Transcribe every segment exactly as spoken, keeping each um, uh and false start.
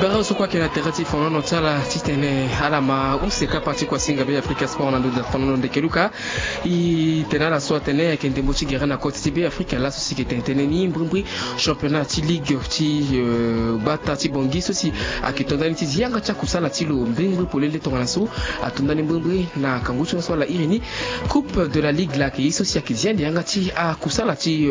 Bara so kue ayeke na tere ti fonono ti ala titene ala ma use kapa ti kuasinga Be Afrika Sport na ndo ti fonono ndeke luka. E tene ala so atene ayeke ndembo ti gere na koti ti Be Afrika laso si e yeke tene tënë ni mbrimbri championnat ti ligue ti gbata ti Bangui so si ayeke to ndani ti zi yanga ti akusala ti lo mbrimbri polele tongana so ato ndani mbrimbri na kangu ti so ala iri ni. Coupe de la ligue la ayeke ye so si ayeke zi ande yanga ti akusala ti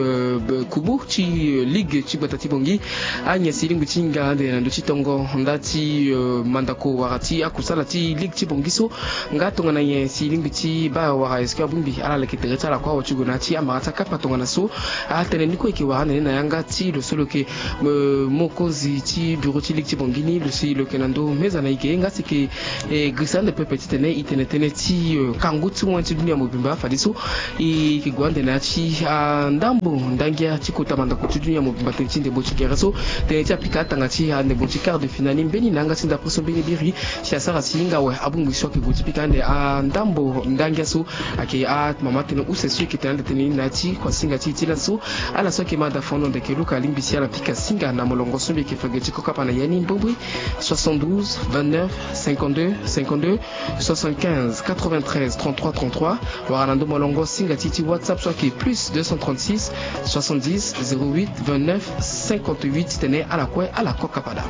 kubu ti ligue ti gbata ti Bangui. Agnès e lingbi ti hinga ande na ndö ti tongo nda ti mandako wala ti akusala ti ligue ti Bangui so. Nga tongana nyen si e lingbi ti baa wala est-ce que abongbi ala leke tere ti ala kue awe ti gue na ya ti amara ti akapa tongana so. Atene ni kue e yeke wara ande ni na yanga ti lo so lo yeke mokonzi ti bureau ti ligue ti Bangui ni lo si lo yeke na ndö meza na e ge nga si e yeke girisa ande pepe titene e tene tënë ti kangu ti moyen ti dunia mobimba fadeso e yeke gue ande na ya ti andambo ndangia ti kota mandako ti dunia mobimba tënë ti ndembo ti gere so. Tënë ti apika atanga ti andembo ti quart de finale ni mbeni na yanga ti ndapre so mbeni biri si asara si hinga awe abongbi so ayeke gue ti pika ande andambo ndangia so. Ayeke amama tënë use so e yeke tene ande tënë ni na ya ti kuasinga ti e ti laso. Ala so ayeke ma da fondo ndeke luka alingbi si ala pika singa na molongo so mbi yeke fa ge ti kokapa na ya ni mbrimbri. Soixante-douze, vingt-neuf, cinquante-deux, cinquante-deux, soixante-quinze, quatre-vingt-treize, trente-trois, trente-trois. Wala na ndo molongo singa ti e ti WhatsApp so ayeke plus deux cent trente-six, soixante-dix, zéro huit, vingt-neuf, cinquante-huit. Titene ala kue ala kokapa daa.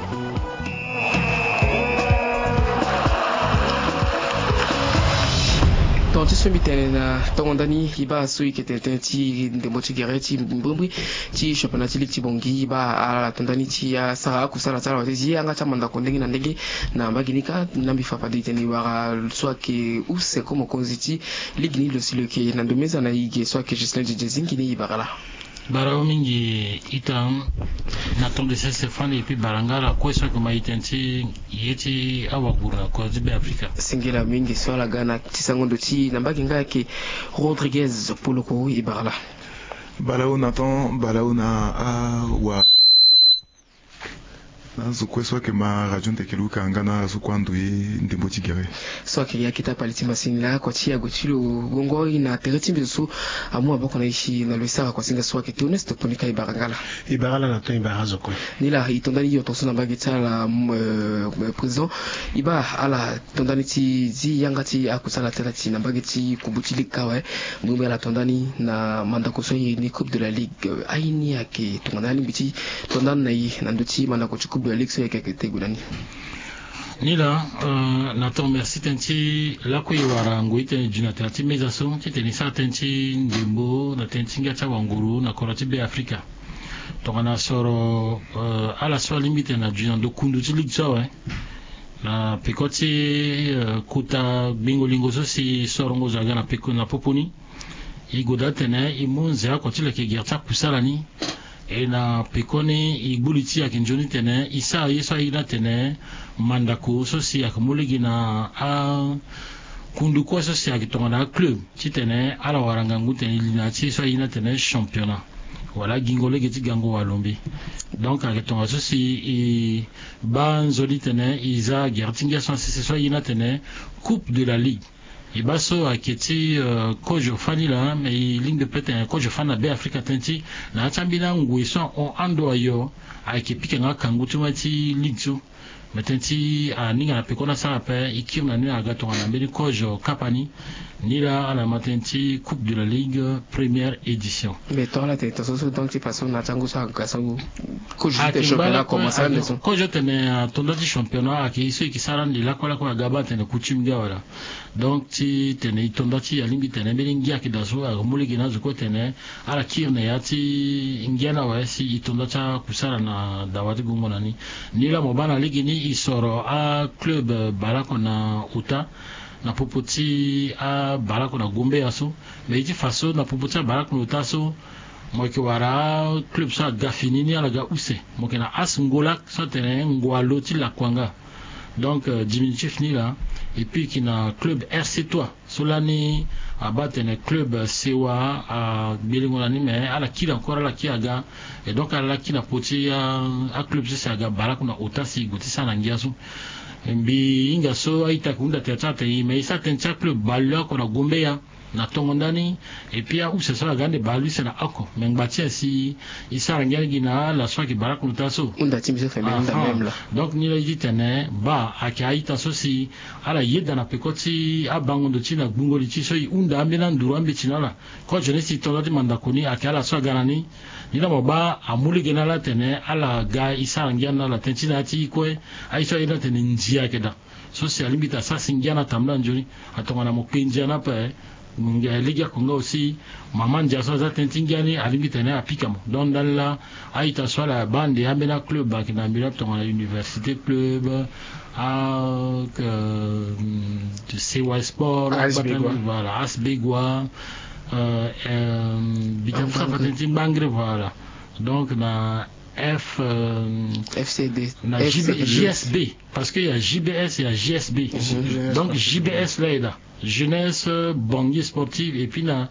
Tonga ti so mbi tene na tongo ndani e baa so e yeke tene tënë ti ndembo ti gere ti mbrimbri ti championnat ti ligue ti Bangui e baa ala to ndani ti asara akusala ti ala wala ti zi yanga ti amandako ndenge na ndenge. Na mbage ni kâ na mbi fa fade e tene e wara so ayeke use ko mokonzi ti ligue ni lo si lo yeke na ndo meza na e ge so ayeke Ghislain Didier Zingi ni e bara laa. Bara mingi ita. Na tongana sese fani et puis bara nga ala kue so ayeke ma e tene ti ye ti awaguru na kota ti Be Afrika. Singila mingi so ala ga na ti sango ndo ti na mbage nga ayeke Rodriguez Poloko e bara laa. Balawu na ton balawu na awa. Na azo kue so ayeke ma radio ndeke luka nga na azo kue ando ye ndembo ti gere. So ayeke ya kita pali ti masini laa kua ti yago ti lo gongo e na tere ti mbi so amu maboko na e si na lo e sara kua singa so ayeke Théoneste Ponika e bara nga laa. E bara laa na ton e bara azo kue. Ni laa e to ndani yo tongaso na mbage ti ala président e baa ala to ndani ti zi yanga ti akusala ti ala ti na mbage ti kubu ti ligue kâ awe. Mbrimbri ala to ndani na mandako so airi ni coupe de la ligue. Aye ni ayeke tongana alingbi ti to ndani na e na ndö ti mandako ti coupe de la ligue so e yeke ayeke te gue na ni. Ni laa na ton merci tënë ti lakue e wara ngoi tënë e dui na tere ti meza so titene e sara tënë ti ndembo na tënë ti ngia ti awanguru na kodro ti Be Afrika. Tongana soro ala so alingbi tene na dui na ndo kundu ti ligue so awe. Na peko ti kota gbingo lingo so si sorongo zo aga na peko na popo ni. E goda tene e mu nze oko ti leke gere ti akusala ni. E na pekoni e gbu li ti e ayeke nzoni tene e sara ye so aye ni atene mandako so si ayeke mu lege na akundu kue so si ayeke tongana aclub titene ala wara ngangu tene e li na ya ti ye so aye ni atene championnat wala agingo lege ti gango wala lombi. Donc ayeke tongaso si e baa nzoni tene e za gere ti ngia so na sese so aye ni atene coupe de la ligue. E baa so ayeke ti kozo fani laa me e lingbi pe tene kozo fani na Be Afrika tënë ti na ya ti ambeni angoi so ahon ando ayo. Ayeke pika nga kangu ti moi ti ligue so. Me tënë ti aninga na peko ni asara ape e kiri na ni aga tongana mbeni kozo kapa ni. Ni laa ala ma tënë ti coupe de la ligue première édition. Mais tongana tene tongaso so donc ti façon na ti angu so aga so kozo ti tene championnat akomanse ande so. Kozo tene ato nda ti championnat ayeke ye so e yeke sara ande lakue lakue aga baa tene coutume ngia wala. Donc ti tene e to nda ti alingbi tene mbeni ngia ayeke daa so ayeke mu lege na azo kue tene ala kiri na ya ti ngia ni awe si e to nda ti akusala na dawa ti gongo na ni. Ni laa mo baa na lege ni e soro aclub baleoko na ota na popo ti abaleoko na gombeya so. Me ye ti fa so na popo ti abaleoko na ota so mo yeke wara aclub so aga fini ni ala ga use. Mo yeke na as ngolak so atene ngwalo ti lakuanga. Donc diminutif ni laa. Et puis e yeke na club rc trois so lani abaa tene club sewa agbelengo na ni me ala kiri encore ala kiri aga. Et donc ala laki na po ti aclub so si aga baleoko na ota si e gue ti sara na ngia so. Mbi hinga so a-ita ayeke hunda tere ti ala tene e me e sara tënë ti aclub baleoko na gombeya. na tongo ndani. Et puis ahusa so aga ande baa luise na oko me ngba ti asi. E sara ngia gi na ala so ayeke baa lakunda so. Hunda ti mbi so feme hunda. Même la. Donc ni la e ti tene baa ayeke a-ita so si ala yeda na peko ti abango ndo ti na gbungo li ti so e hunda ambeni anduru ambeti na ala. Kozo ni si e to nda ti mandako ni ayeke ala so aga na ni. Ni la mo baa amu lege na ala atene ala ga e sara ngia na ala tënë ti na ya ti kue. Aye so aye ni atene ndia ayeke daa. So si alingbi ti asara si ngia na tambula nzoni. Atongana mo kpe ndia ni ape. Ngia lege oko nga aussi. Mama ndia so aza tënë ti ngia ni alingbi ti tene apika mo donc ndani laa. A-ita so ala baa ande ambeni aclub ayeke na mbeni tongana université club, a sewa sport, asbegua. Voilà, asbegua. Bita so afa tënë ti ngbangre, voilà. Donc na f fcd na jbsb. Parce que ya jbs ya jsb. Donc jbs laa e daa jeunesse bangi sportive et puis na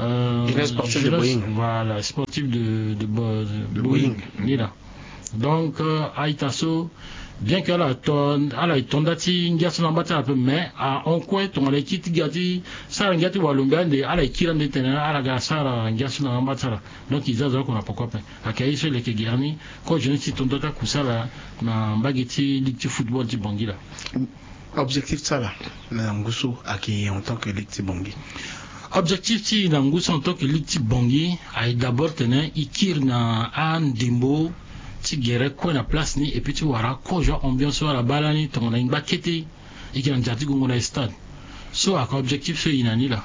jeunesse sportive de boeing. Voilà, sportive de boeing. Ni laa. Donc a-ita so bien que ala to ala e to nda ti ngia so na amba ti ala ape mais ahon kue tongana e kiri ti ga ti sara ngia ti walombe ande ala e kiri ande tene ala ga sara ngia so na amba ti ala. Donc e za azo oko na poko ape. Ayeke aye so e leke gere ni. Kozo ni si e to nda ti akusala na mbage ti ligue ti football ti bangi laa. Objectif ti ala na ngu so ayeke en tant que ligue ti bangi? Objectif ti e na ngu so en tant que ligue ti bangi aye d'abord tene e kiri na andembo ti gere kue na place ni et puis ti wara kozo ambiance so ala baa lani tongana e ngba kete. E yeke na ndia ti gongo na e stade. So ayeke objectif so e na ni laa.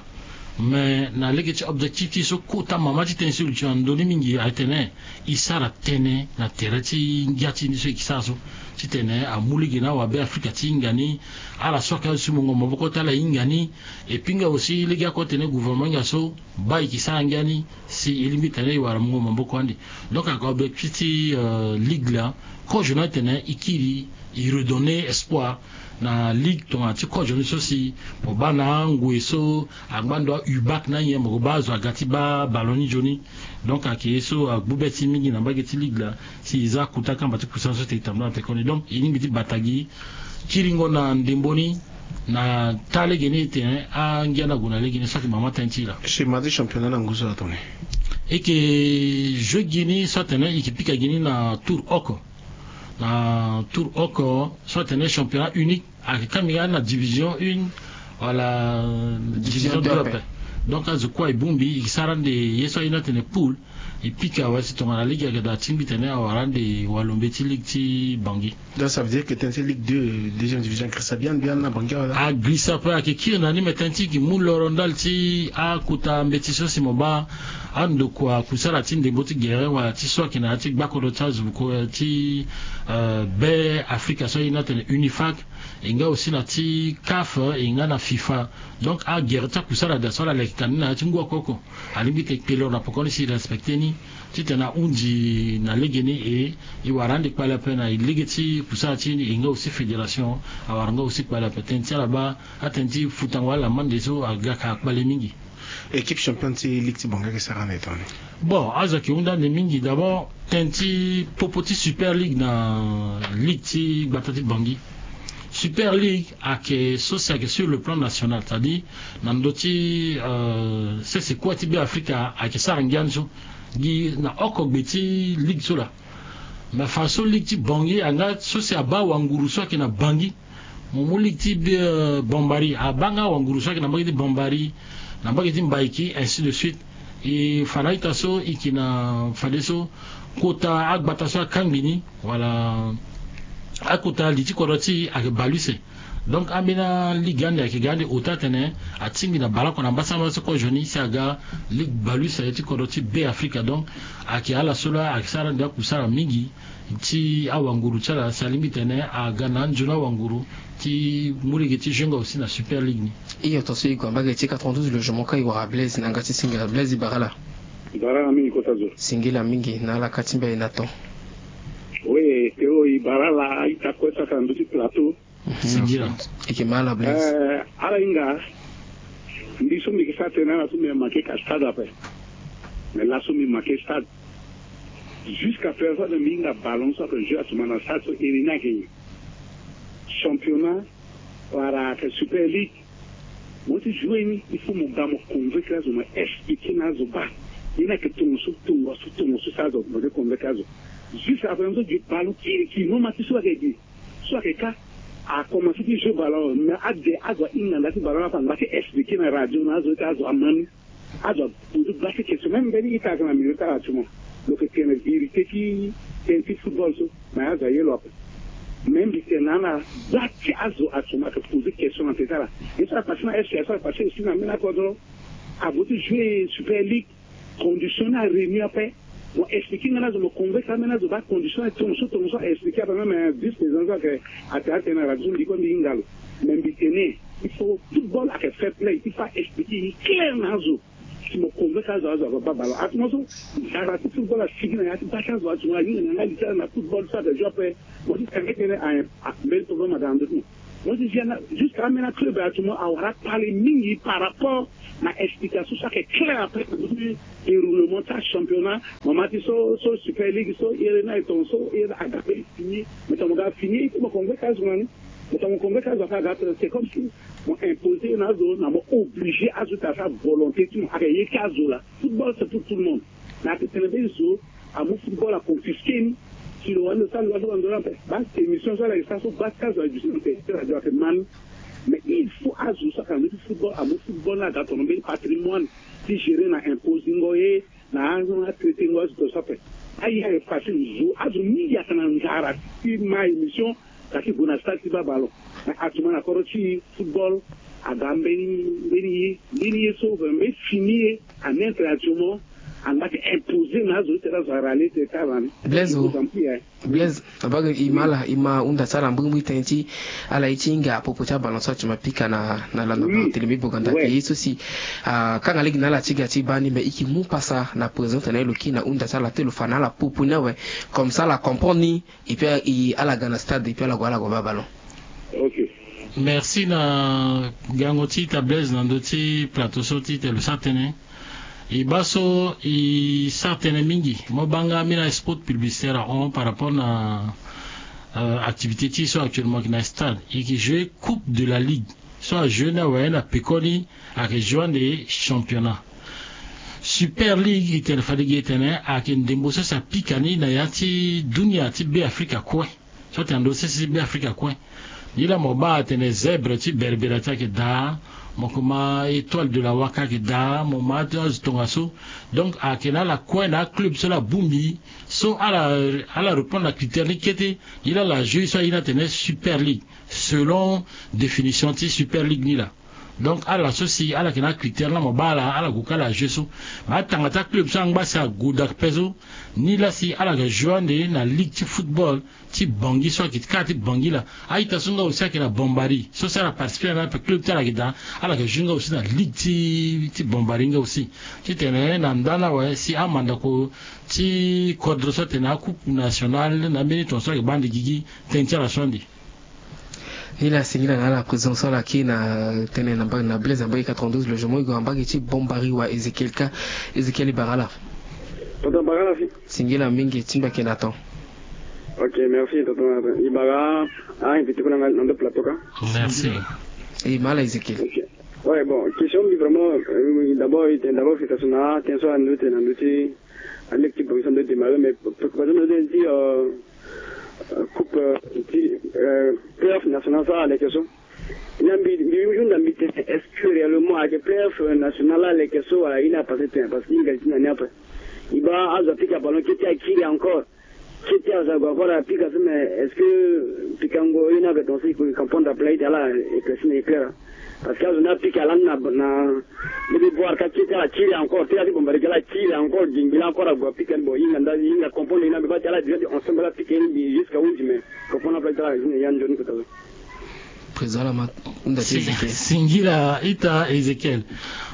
Mais na lege ti objectif ti e so kota mama ti tënë so e luti na ndö ni mingi aye tene e sara tënë na tere ti ngia ti ni so e yeke sara so. Titene amu lege na awabe afrika ti hinga ni. Ala so ayeke azo ti mungo maboko ti ala e hinga ni. Et puis nga aussi lege oko atene gouvernement hinga so baa e yeke sara ngia ni. Si e lingbi tene e wara mungo maboko ande. Donc ayeke objectif ti ligue laa. Kozo ni atene e kiri e redonner espoir na ligue tongana ti kozo ni so si mo baa na angoi so angba ndo a-ubak na nyen mo ko baa azo aga ti baa ballon ni nzoni. Donc ayeke ye so agbu be ti e mingi na mbage ti ligue laa. Si e za kota kamba ti kusala so tene e tambula na pekoni donc e lingbi ti bata gi kiringo na ndembo ni. Na taa lege ni tene angia ni ague na lege ni so ayeke mama tënë ti e laa. Schéma ti championnat na ngu so atene e yeke jeu gi ni so atene e yeke pika gi ni na tour oko. Na tour oko so atene championnat unique. Ayeke kambinga na division une wala division deux ape. Donc azo kue e bongbi e sara ande ye so aye ni atene poule. E pika awe si tongana lege ayeke daa atingbi tene awara ande walombe ti ligue ti bangi. Donc ça veut dire que tënë ti ligue deux deuxième division agrisa bien bien na bangi awe laa. Agrisa ape ayeke kiri na ni me tënë ti e yeke mu loro ndali ti akota mbeti so si mo baa andokua kusala ti ndembo ti gere wala ti so ayeke na ya ti gbakodro ti azo ti be afrika so aye ni atene unifac. E nga aussi na ti caf e nga na fifa. Donc agere ti akusala daa so ala leke ka ni na ya ti ngu oko oko. Alingbi ti kpe loro na pokoni si e respecte ni titene ahunzi na lege ni e e wara ande kpale ape na e lege ti kusala ti e nga aussi fédération awara nga aussi kpale ape tënë ti ala baa atënë ti futango ala mande so aga ka kpale mingi. Équipe championne ti ligue ti bangi ayeke sara ande tongana nini? Bon azo ayeke hunda ande mingi d'abord tënë ti popo ti super ligue na ligue ti gbata ti bangi. Super ligue ayeke so si ayeke sur le plan national c'est à dire na ndö ti sese kue ti be afrika ayeke sara ngia ni so. Gi na oko gbe ti ligue so laa. Mais fadeso ligue ti bangi anga so si abaa wanguru so ayeke na bangi. Mo mu ligue ti bambari abaa nga wanguru so ayeke na mbage ti bambari na mbage ti mbaiki ainsi de suite. E fa na ita so e yeke na fadeso kota agbata so akangbi ni wala akota li ti kodro ti e ayeke bale use. Donc ambeni aligue ande ayeke ga ande ota atene atingbi na baleoko na mbasambala so kozo ni si aga ligue bale use ti kodro ti be afrika donc ayeke ala so laa ayeke sara ande akusara mingi. Ti awanguru ti ala si alingbi tene aga na anzoni awanguru ti mu lege ti jeu nga aussi na super ligue ni. Iyo tonso e gue na mbage ti quatre-vingt-douze logement ka e wara blaise na yanga ti singila blaise e bara ala. E bara ala mingi kota zo. Singila mingi na ala ka ti mbi aye na ton. Oui, kero e bara ala a-ita kue so ayeke na ndö ti plateau. Singila. E yeke ma ala blaise. Ala hinga. Mbi so mbi yeke sara tënë na ala so mbi yeke make ka stade ape. Mais laso mbi make stade. Jusqu'à présent mbi hinga ballon so ayeke jeu actuellement na stade so iri ni ayeke nyen? Championnat wala ayeke super ligue? Mo ti jouer ni, il faut mo ga mo convaincre azo, mo expliquer na azo baa. Ye ni ayeke tongo so, tongo so, tongo so, so azo mo de convaincre azo. Juste après, mo so gi ballon kirikiri, mo ma ti so ayeke gi, so ayeke ka, a commencer ti jouer ballon, mais ade azo ahinga nda ti ballon ni afa, angba ti expliquer na radio na azo ti azo ama ni. Azo aposer baa ti question, même mbeni ita ayeke na milieu ti ala actuellement. Lo yeke tene vérité ti tënë ti football so, mais azo aye lo ape. Mais mbi tene na ala, baa ti azo actuellement ayeke poser question na tënë ti ala. Ye so apassé na F C A, so apassé aussi na mbeni akodro. Ague ti jouer Super League, condition ni aréunir ape. Mo expliquer nga na azo, mo convaincre ambeni azo baa condition ni tongo so, tongo so, a expliquer ape, même, euh, vice président so ayeke, ate atene na radio so mbi kue mbi hinga lo. Mais mbi tene, il faut football ayeke fair play, il faut a expliquer ye clair na azo. Si mo convaincre azo, azo ava baa ballon. Ate mo so, nzara ti football asigi na ya ti baa ti azo, ate mo ahinga na nga li ti ala na football so ayeke jouer ape. Mo ti tene tënë, a, a, mbeni problème aga na ndö ti mo. Mo ti zia na, jusqu'à ambeni aclub ate mo awara kpale mingi par rapport na explication so ayeke clair après na ndö ti déroulement ti achampionnat. Mo ma ti so, so Super League so, iri ni aye tongo so, iri aga mbeni fini. Mo tene mo ga fini, il faut mo convaincre azo na ni. Mo tene mo convaincre azo, afa aga tene, c'est comme si mo imposer na azo, na mo obliger azo ti asara volonté ti mo. Ayeke ye ti azo laa. Football, c'est pour tout le monde. Mais ayeke tene mbeni zo amu football aconfisquer ni. Si lo wani lo sara, lo wani lo sara ape. Baa émission so ala yeke sara so, baa ti azo ayeke duti na tene ti radio ayeke ma ni. Mais il faut azo so ayeke na ndö ti football amu football ni aga tongana mbeni patrimoine ti gérer na imposingo ye, na atraitengo azo tongaso ape. Aye ayeke facile, zo, azo mingi ayeke na nzara ti ma émission, ka ti gue na stade ti baa ballon. Mais actuellement na kodro ti football aga mbeni, mbeni ye, mbeni ye so, mbeni fini ye, a neutre actuellement, angba ti imposer na azo ti tene azo arale tene ti ala ni. Blaise o. Blaise, abage, i ma ala, i ma hunda ti ala mbrimbri tënë ti ala ye ti hinga à propos ti aballon so actuellement apika na, na landa na télé mbi boganda. Ouais. Ye so si, ah, akanga lege na ala ti ga ti baa ni, mais i yeke mu pasa na président ti tene lo kiri na hunda ti ala ti lo fa na ala propos ni awe. Comme ça ala comprendre ni, et puis, i, ala ga na stade, et puis ala gue, ala gue baa ballon. Ok. Merci na gango ti ita Blaise na ndö ti plateau so ti tene lo sara tënë. E baa so e sara tënë mingi. Mo baa nga ambeni spot publicitaire ahon par rapport na, euh, activité ti e so actuellement ayeke na stade. E yeke jouer Coupe de la Ligue so ajouer ni awe na pekoni, ayeke jouer ande championnat. Super League, e tene fade gi e tene ayeke ndembo so si apika ni na ya ti dunia ti Beafrika kue. So atene ando sese ti Beafrika kue. Nilaa mo baa atene Zèbre ti Berbera ti ayeke daa, mo kuma Étoile de la Waka ayeke daa, mo ma ti azo tongaso. Donc ayeke na ala kue na aclub so laa abongbi, so ala, ala répondre na critère ni kete. Nilaa ala jouer so aye ni atene Super League, selon définition ti Super League nilaa. Donc ala so si ala yeke na acritère laa mo baa ala, ala gue ka ala jouer so. Mais atanga ti aclub so angba si ague daa ape so, nilaa si ala yeke jouer ande na ligue ti football ti Bangui so ayeke ti kâ ti Bangui laa. A-ita so nga aussi ayeke na Bambari so si ala participer na ni ape, club ti ala ayeke daa, ala yeke jouer nga aussi na ligue ti, ti Bambari nga aussi. Titene na nda ni awe si amandako ti kodro so atene acoupe nationale na ambeni tongaso ayeke baa ande gigi, tënë ti ala so ande. Nilaa singila na ala président so ala kiri na tënë na mbage, na Blaise na mbage quatre-vingt-douze logement, e gue na mbage ti Bambari wa Ézéchiel ka. Ézéchiel, e bara ala. Tonton, bara ala si. Singila mingi, ti mbi ayeke na temps. Ok, merci tonton. E bara a-invité kue na nga na ndo plateau ka. Merci. E ma ala Ézéchiel. Ok. Ouais, bon, question mbi vraiment, euh, d'abord, d'abord, félicitations na tënë so ando tene na ndö ti, aleke ti Bangui so ando démarrer, mais préoccupation na ndö ti, euh, euh, coupe, euh, ti, euh, playoff national so aleke so. Na mbi, mbi, mbi hunda mbi tene, est-ce que réellement ayeke playoff, euh, national aleke so wala ye ni apasé tene? Parce que e hinga li ti na ni ape. E baa azo apika ballon kete akiri encore. Kete azo ague encore apika so, mais est-ce que pikango ye ni ayeke tongaso e comprendre ape laa? Ita ala éclairci na éclair. Parce que azo ni apika lani na, na, lege boire ka kete ala kiri encore, ti ala ti Bambari ka ala kiri encore, gingbi laa encore ague apika ni. Bon, e hinga nda, e hinga comprendre ye ni ape, baa ti ala déjà ti ensemble ala pika ye ni jusqu'à huit mai. Comprendre ape laa ti ala, ya nzoni kota so. Président laa ma hunda ti Ézéchiel. Singila ita Ézéchiel.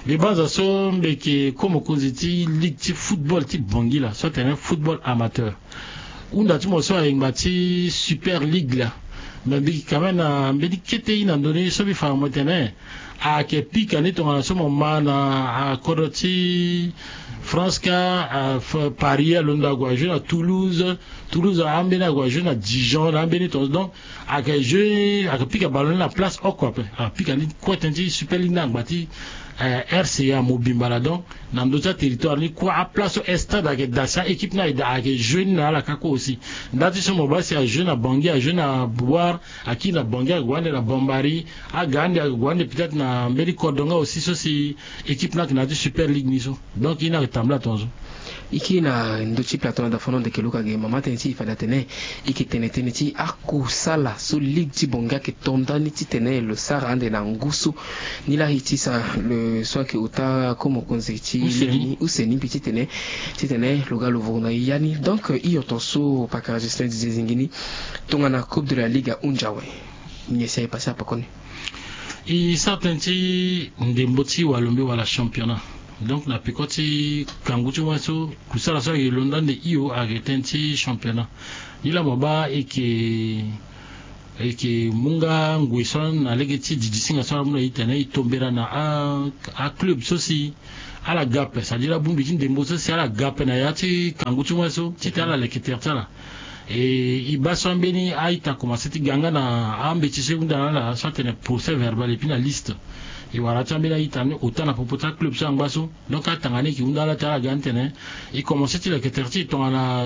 Mbi banza so mbi yeke ko mokonzi ti ligue ti football ti Bangui laa, so atene football amateur. Hunda ti mo so ayeke ngba ti Super League laa. Mais mbi yeke ka même na mbeni kete ye na ndö ni so mbi fa mo tene ayeke pika ni tongana so mo ma na akodro ti France ka, Paris alondo ague ajouer na Toulouse. Toulouse ambeni ague ajouer na Dijon na ambeni tongaso. Donc ayeke jeu ayeke pika ballon ni na place oko ape. Apika ni kue tënë ti Super League ni angba ti RCA mobimba laa. Donc na ndö ti aterritoire ni kue aplace so stade ayeke daa si aéquipe ni ayeke daa ayeke jeu ni na ala kâ kue aussi. Nda ti so mo baa si ajeu na Bangui, ajeu na Bouar, akiri na Bangui ague ande na Bambari, aga ande ague ande peut-être na mbeni kodro nga aussi so si équipe ni ayeke na ya ti Super League ni so. Donc ye ni ayeke tambula tongaso. E kiri na ndö ti plateau na dafono ndeke luka ge mama tënë ti e fade atene e yeke tene tënë ti akusala so ligue ti Bangui ayeke to nda ni titene lo sara ande na ngu so. Ni laa e ti sa le so ayeke ota ko mokonzi ti use ni mbi titene titene lo ga lo vuru na ya ni. Donc hio tongaso pakara Justin Didier Zingini. Tongana Coupe de la Ligue ahunzi awe. Nyen si aye pase na pekoni? E sara tënë ti ndembo ti walombe wala championnat. Donc na peko ti kangu ti wâ so kusala so ayeke londo ande hio ayeke tënë ti championnat. Ni laa mo baa e yeke e yeke mu nga ngoi so na lege ti didisinga so ala mu na e tene e tombera na aclub so si ala ga ape, c'est-à-dire abongbi ti ndembo so si ala ga ape na ya ti kangu ti wâ so titene ala leke tere ti ala. E e baa so ambeni a-ita akomanse ti ga nga na ambeti so e hunda na ala so atene procès verbal epui na liste. E wara ti ambeni a-ita ni ota na popo ti aclub so angba so. Donc atanga ni e yeke hunda ala ti ala ga ni tene e komanse ti leke tere ti e tongana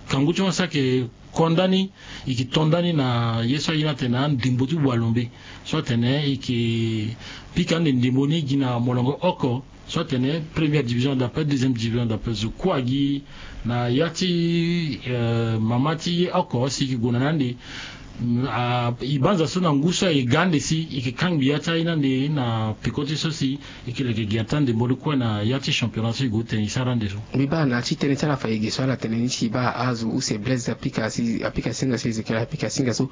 kangu ti wâ so ayeke ko nda ni. E yeke to nda ni na ye so aye ni atene andembo ti walombe so atene e yeke pika ande ndembo ni gi na molongo oko so atene première division d'appel, deuxième division d'appel. Zo kue agi na ya ti mama ti ye oko si e yeke gue na ni ande. E banza so na ngu so aye ga ande si e yeke kangbi ya ti aye ni ande na peko ti so si e yeke leke gi ata ndembo ni kue na ya ti championnat so e gue tene e sara ande so. Mbi baa na ya ti tënë ti ala fa e ge so ala tene ni si e baa azo use Blaise apika si apika singa so Ezekiel apika singa so.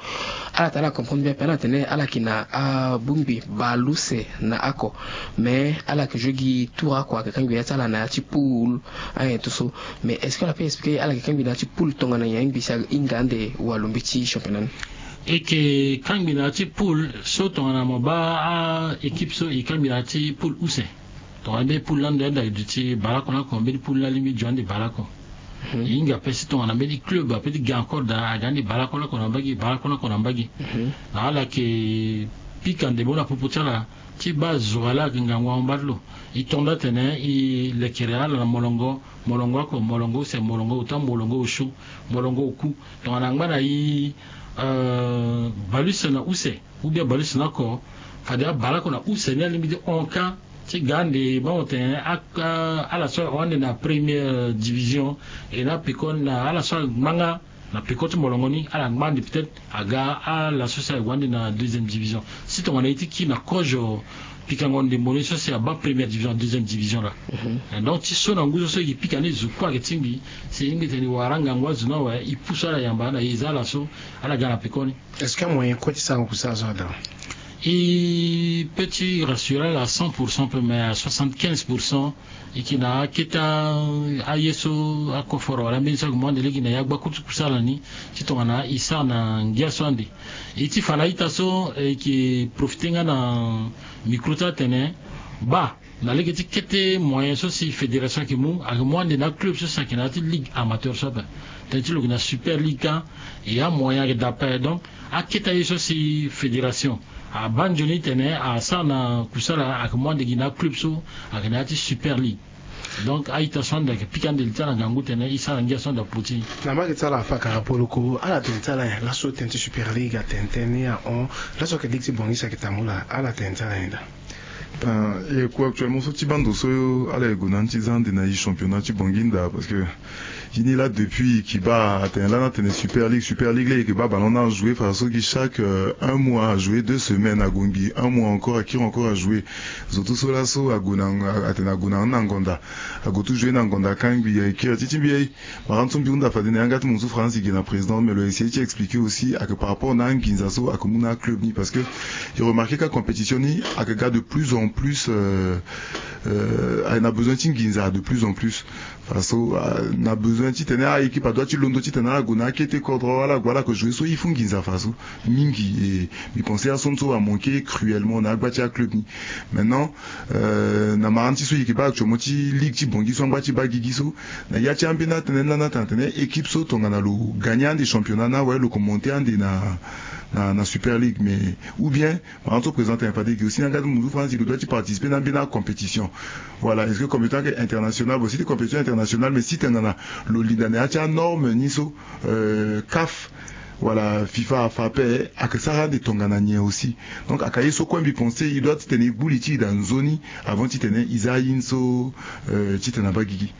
Ala tene ala comprendre bien ape ala tene ala yeke na abongbi baleuse na oko. Mais ala yeke joue gi tour oko ayeke kangbi ya ti ala na ya ti poule. Ayen tout so. Mais est-ce que ala peut expliquer ala yeke kangbi na ya ti poule tongana nyen angbi si ahinga ande walombe ti championnat ni? E yeke kangbi na ya ti poule so tongana mo baa a-équipe so e kangbi na ya ti poule use. Tongana mbeni poule ni ande ande ayeke duti baleoko ni oko mbeni poule ni alingbi jo ande baleoko. E hinga ape si tongana mbeni club ape ti ga encore daa aga ande baleoko ni oko na mbage baleoko ni oko na mbage. Na ala yeke pika ndembo na popo ti ala ti baa zo wa laa ayeke ngangu ahon baa ti lo. E to nda atene e lekere ala na molongo, molongo oko, molongo use, molongo ota, molongo osio, molongo oku. Tongana angba na e baleuse na use ou bien baleuse na oko, fade abaleoko na use ni alingbi ti hon ka ti ga ande baa mo tene ala so ahon ande na première division. E na pekoni na ala so angba nga na peko ti molongo ni ala ngba ande peut-être aga ala so si ague ande na deuxième division. Si tongana e ti kiri na kozo pikango ndembo ni so si abaa première division, deuxième division laa. Donc ti so na ngu so so e yeke pika ni zo kue ayeke tingbi si e lingbi tene e wara ngangu azo ni awe e pusu ala yamba na e za ala so ala ga na pekoni. Est-ce que amoyen kue ti sara kusala so ada? E peut ti rassurer ala à cent pour cent pe mais à soixante-quinze pour cent. E yeke na akete aye so akoforo wala ambeni so ayeke mu ande lege na ya gbaku ti kusala ni ti tongana e sara na ngia so ande. E ti fa na a-ita so e yeke profiter nga na micro ti atene baa na lege ti kete moyen so si fédération ayeke mu ayeke mu ande na aclub so si ayeke na ya ti ligue amateur so ape. Tënë ti lo yeke na Super League ka. E amoyen ayeke daa ape donc akete aye so si fédération abaa nzoni tene asara na kusala ayeke mu ande gi na aclub so ayeke na ya ti Super League. Donc a-ita so ande ayeke pika ande li ti ala na ngangu tene e sara ngia so ande aputi. Na mbage ti ala afa kara poloko ala tene ti ala nyen laso tënë ti Super League atene tënë ni ahon? Laso ayeke ligue ti Bangui si ayeke tambula ala tene ti ala nyen daa? E ku actuellement so ti bando so ala ye gue na ni ti za ande na e championnat ti Bangui ndaa parce que e ni laa depuis e yeke baa atene lani atene Super League, Super League laa e yeke baa ballon ni ajoue fadeso gi chaque un mois ajoue deux semaines ague ngbii un mois encore akiri encore ajoue. Zo tout so laso ague na atene ague na ni na ngonda ague tout joue na ngonda akangbi aye kiri ti ti mbi aye. Mara ni so mbi hunda fade na yanga ti mo so France e gi na président mais lo essayer ti expliquer aussi ayeke par rapport na anginza so ayeke mu na aclub ni parce que e remarquer ka compétition ni ayeke ga de plus en plus euh, Euh, ayeke na besoin ti nginza de plus en plus. Faso, euh, na besoin titene a-équipe adoit ti londo titene ala gue na akete kodro, ala gue ala yeke jouer so il faut nginza faso mingi. E mbi pense ason so amanke cruellement na agba ti aclub ni. Maintenant, euh, na marani ti so e yeke baa actuellement ti ligue ti Bangui so angba ti baa gigi so, na ya ti ambeni atene ni lani atene atene équipe so tongana lo gagner ande championnat ni awe lo yeke monter ande na, na, na Super League. Mais ou bien marani so président tene fade e gi aussi na nga ti munzu France lo doit ti participer na ambeni acompétition. Voilà, est-ce que compétition ayeke internationale? Bon, si ti compétition internationale, mais si tongana lo linda na ya ti anorme ni so, euh, CAF wala FIFA afa ape, ayeke sara ande tongana nyen aussi. Donc ayeke ye so kue mbi pense e doit titene e gbu li ti e daa nzoni avant titene e za aye ni so, euh, titene abaa gigi.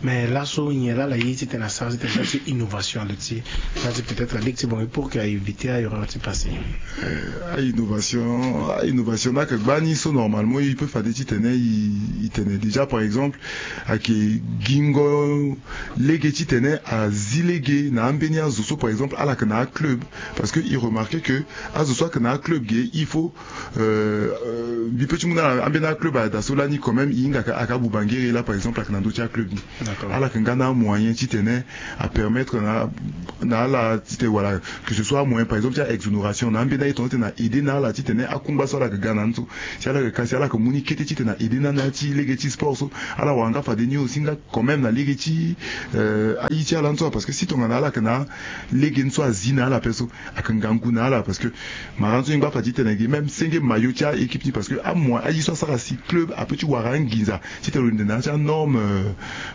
Mais laso nyen laa ala ye titene asara titene asara ti innovation ande ti, ande ti peut-être la ligue ti Bangui pour que a éviter a-erreur ti passé? Euh, a-innovation, a-innovation ni ayeke gbani so normalement e peut fade titene e, e tene déjà par exemple ayeke gingo lege titene azi lege na ambeni azo so par exemple ala yeke na aclub. Parce que e remarquer que azo so ayeke na aclub ge il faut, euh, euh, mbi peut ti mu na ala ambeni aclub ayeke daa so lani quand même e hinga ayeke, ayeke abubangere laa par exemple ayeke na ndö ti aclub ni. D'accord. Ala yeke nga na amoyen titene apermettre na, na ala titene wala que ce soit amoyen par exemple ti a-exonération na ambeni aye tongana titene na aider na ala titene akungba so ala yeke ga na ni so, si ala yeke ka si ala yeke mu ni kete titene a-aider na ni na ya ti lege ti sport so, ala wara nga fade ni aussi nga quand même na lege ti, euh, aye ti ala ni so. Parce que si tongana ala yeke na lege ni so azi na ala ape so, ayeke ngangu na ala. Parce que marani so e ngba fa ti tene gi même senge maillot ti a-équipe ni. Parce que amoyen aye so asara si club apeut ti wara anginza titene lo linda na ya ti anorme, euh,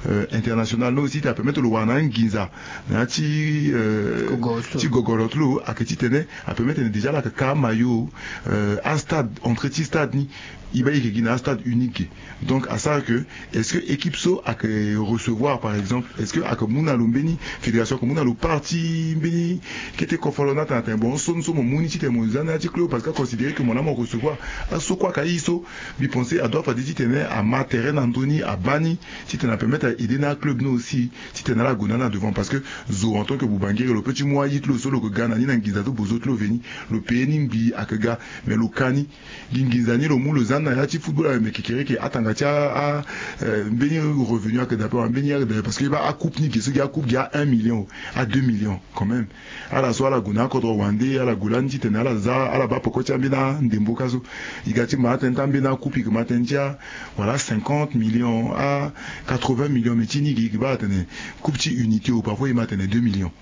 euh, internationale ni aussi titene apermettre lo wara na anginza na ya ti, euh, ti gogoro ti lo. Ti gogoro ti lo ayeke titene apermettre tene déjà ala yeke ka amaillot, euh, astade, entrée ti stade ni e baa e yeke gi na astade unique ge. Donc asara que est-ce que équipe so ayeke recevoir par exemple, est-ce que ayeke mu na lo mbeni, fédération ayeke mu na lo part ti mbeni kete kofolo ni atene atene bon so ni so mo mu ni titene mo za na ya ti club parce que aconsidérer que mo laa mo recevoir. Aso kue ayeke aye so mbi pense adoit fade titene ama terrain na ndö ni abaa ni titene apermettre a-aider na aclub ni aussi titene ala gue na ala na devant. Parce que zo en tant que bubangere lo peut ti mu aye ti lo so lo yeke ga na ni na nginza so bozo ti lo veni, lo payer ni ngbii ayeke ga, mais lo ka ni gi nginza ni lo mu lo za ni na ya ti football awe, mais kekereke atanga ti a, a, euh, mbeni revenu ayeke daa ape wala mbeni ayeke daa ape. Parce que e baa acoupe ni ge so gi acoupe gi a un million, a deux millions quand même. Ala so ala gue na akodro wande ala gue lani titene ala za ala baa peko ti ambeni andembo ka so. E ga ti ma atene ti ambeni acoupe e yeke ma tënë ti a wala cinquante millions a quatre-vingts millions, mais ti ni ge e yeke baa atene coupe ti unité o parfois e ma atene deux millions.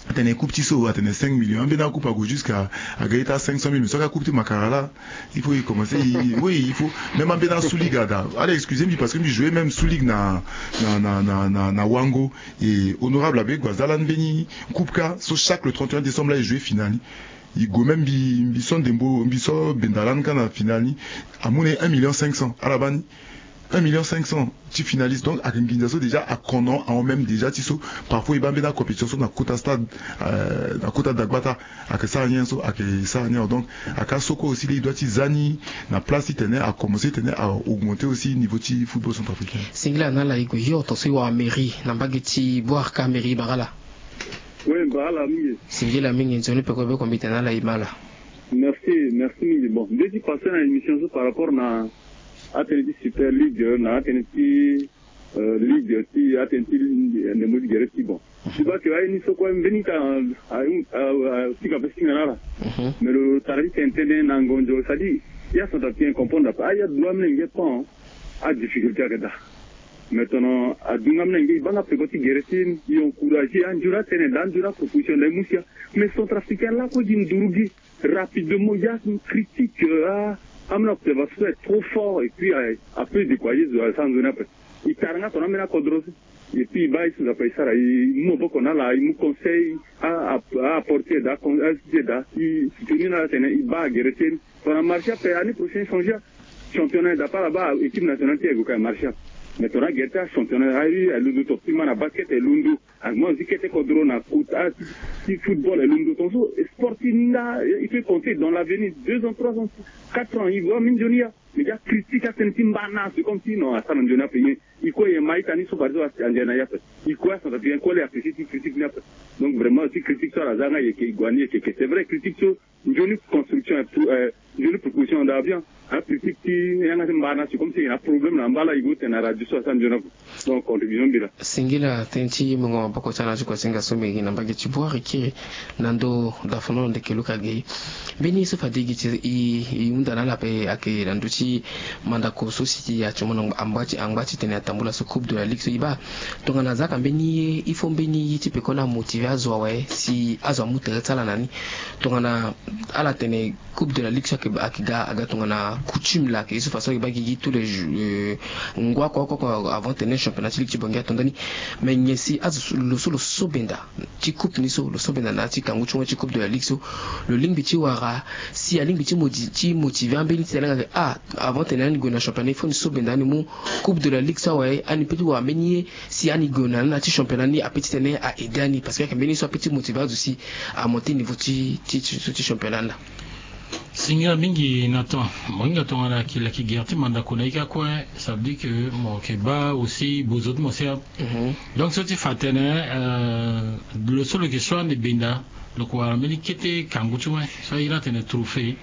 Atene coupe ti so atene cinq millions, ambeni acoupe ague jusqu'à aga ye ti a cinq cent mille, mais so aga coupe ti makara laa il faut e commencer e, oui il faut. Même ambeni asuliga daa, ala excuse mbi parce que mbi jouer même suligue na, na, na, na, na, na Wango. Et honorable abe e gue aza lani mbeni coupe ka so chaque le trente et un décembre laa e jouer finale ni. E gue même mbi, mbi so ndembo mbi so benda lani ka na finale ni amu na e un million cinq cents ala baa ni un million cinq cents ti finaliste. Donc ayeke nginza so déjà akono ahon même déjà ti so parfois e baa mbeni acompétition so na kota stade, euh, na kota dagbata ayeke sara nyen so ayeke sara nyen. Donc ayeke aso kue aussi laa e doit ti za ni na place titene akomencer titene a-augmenter aussi niveau ti football centrafricain. Singila na ala e gue hio tongaso e wara mairie na mbage ti Bouarka, mairie bara ala. Oui, bara ala mingi. Singila mingi, nzoni peko be kombi tene na ala e ma ala. Merci, merci mingi. Bon, mbi ye ti passer na émission so par rapport na atënë ti Super League, na atënë ti, euh, league ti atënë ti ndembo ti gere ti bon. Mhm. Ti baa ke aye ni so kue mbeni ka, a, a, a, fika ape singa na ala. Mhm. Mais lo tara ti tene tënë na ngonzo, c'est-à-dire ya centrafricain comprendre ape. Aye adu amolenge pan, adifficulté ayeke daa. Mais tongana adu nga amolenge e baa nga peko ti gere ti e, e encourager, anzoni atënë daa, anzoni aproposition daa, e mu sia. Mais centrafricain lakue gi nduru gi rapidement, ya critique, euh, a, amolenge observateur so est trop fort, et puis, euh, ape décourager zo asara nzoni ape. E tara nga tongana ambeni akodro so. Et puis e baa ye so Nzapa e sara, e mu maboko na ala, e mu conseil a, a, a apporter daa, a, a, ti soutenir na ala tene e baa gere ti e ni. Tongana marché ape, année prochaine changer championnat, d'après ala baa équipe nationale ti e gue ka marché ape. Mais tongana gere ti achampionnat, a, alondo, tongaso ti ma na basket alondo. Amoin aussi kete kodro na kota ti, ti football alondo. Tongaso sport ti ni nga, il faut compter dans l'avenir, deux ans, trois ans, quatre ans, e gue ambeni nzoni ya. Mais ya critique atene ti mba na, c'est comme si non, asara nzoni ape. Ye, i kue ye ma ita ni so, par exemple, anzoni na ya ape. I kue acentrafricain, kue le apprécier ti critique ni ape. Donc vraiment, si critique so ala za nga, ye ke i gue ni, ye ke ke. C'est vrai, critique so, nzoni construction, eh, nzoni proposition da bien. Ah, critique ti yanga ti mba na, c'est comme si na problème na mba la, i gue tene na radio so asara nzoni ape. Donc contribution mbi la. Singila tënë ti mungo maboko ti ala ti kue singa so mbi gi na mbage ti bwari kiri na ndo dafono ndeke luka gei. Mbeni so fade gi ti i, i hunda na ala ape ayeke na ndö ti mandako so si ati mo na angba ti, angba ti tene atambula so Coupe de la Ligue so i baa. Tongana a zaka mbeni ye, il faut mbeni ye ti peko ni amotive azo awe si azo amu tere ti ala na ni. Tongana ala tene Coupe de la Ligue so ayeke, ayeke ga, aga tongana coutume la, ayeke ye so façon ayeke baa gigi tous les jours, euh, ngua oko oko oko avant tene championnat ti ligue ti Bangui ato ndani. Mais nyen si azo so, lo so lo sobenda ti coupe ni so, lo sobenda na ti kangu ti ngoi ti Coupe de la Ligue so, lo lingbi ti wara si alingbi ti modi-, ti motive ambeni ti tene nga ke, ah, avant tene ani gue na championnat, il faut ni sobenda ani mu Coupe de la Ligue so awe, ani peut ti wara mbeni ye si ani gue na, na ti championnat ni apeut ti tene a aider ani, parce que ayeke mbeni so apeut ti motive azo si amonter niveau ti, ti, ti, ti championnat ni la. Singila mingi Nathan. Mo hinga tongana ayeke leke gere ti mandako na i kue, ça veut dire que mo yeke baa aussi bozo ti mo si a. Mhm. Donc so ti fa tene, euh, lo so lo yeke so ande benda, lo yeke wara mbeni kete kangu ti ngoi so a iri atene trophée.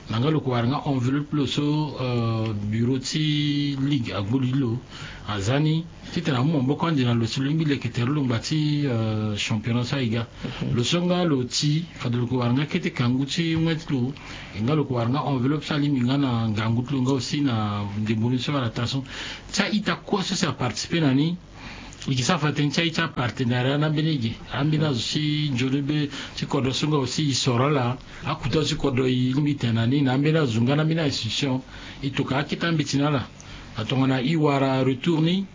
Na nga lo yeke wara nga enveloppe lo so, euh, bureau ti ligue agbu li lo aza ni. Titene amu maboko ande na lo si lo lingbi leke tere lo ngba ti, euh, championnat so aye ga. Mhm. Lo so nga lo ti fade lo yeke wara nga kete kangu ti ngoi ti lo. E nga lo yeke wara nga enveloppe so alingbi nga na ngangu ti lo nga aussi na ndembo ni so ala taa so. Ti a-ita kue so si aparticiper na ni, e yeke sara fa tënë ti a-ita partenariat na ambeni ge, ambeni azo si nzoni be ti kodro so nga aussi e soro ala. Akuta azo ti kodro e lingbi tene na ni na ambeni azo nga na ambeni a-institution. E tokua akete ambeti na ala. Na tongana e wara retour ni,